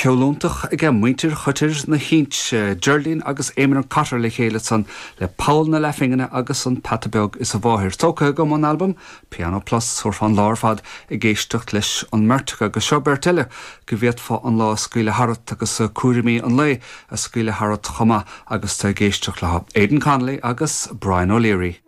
Ceol iontach aige muintir Choitir na hInse, Geraldine agus Éamonn Cotter le chéile ansan le Poll na Leathphingine agus An Peata Beag is a Mháthair. Tógtha agam ón albam Piano Plus, thabharfá an lá ar fad ag éisteacht leis an mbeirt acu agus seo beirt eile go bhféadfá an lá a scaoileadh tharat agus cúraimí an lae a scaoileadh tharat chomh maith agus tú ag éisteacht leo, Aidan Connolly agus Brian O'Leary.